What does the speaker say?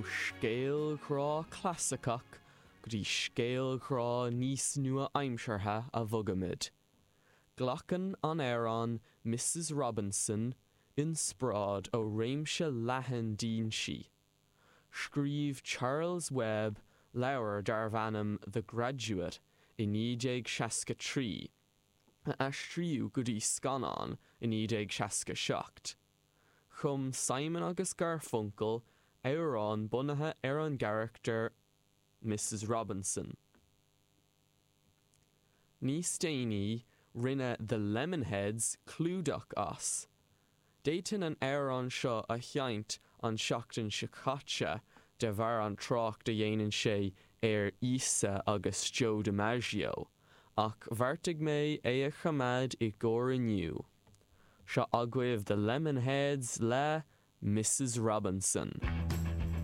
Ó scéal grá clasaiceach go dtí scéal grá níos nua-aimseartha a bhogaimid. Glacann an amhrán Mrs Robinson inspioráid ó réimse leathan d'fhoinsí. Scríobh Charles Webb leabhar darbh ainm The Graduate i 1963, a aistríodh go dtí scannán i 1967. Chum Simon agus Garfunkel amhrán bunaithe ar an gcarachtar Mrs Robinson. Níos déanaí, rinne The Lemonheads clúdach as. D'fhéadfainn an amhrán seo a sheinnt an tseachtain seo caite de bharr an trácht a dhéanann sé ar Íosa agus Joe DiMaggio, ach bheartaigh mé é a choimeád i gcomhair inniu. Seo agaibh The Lemonheads le Mrs Robinson.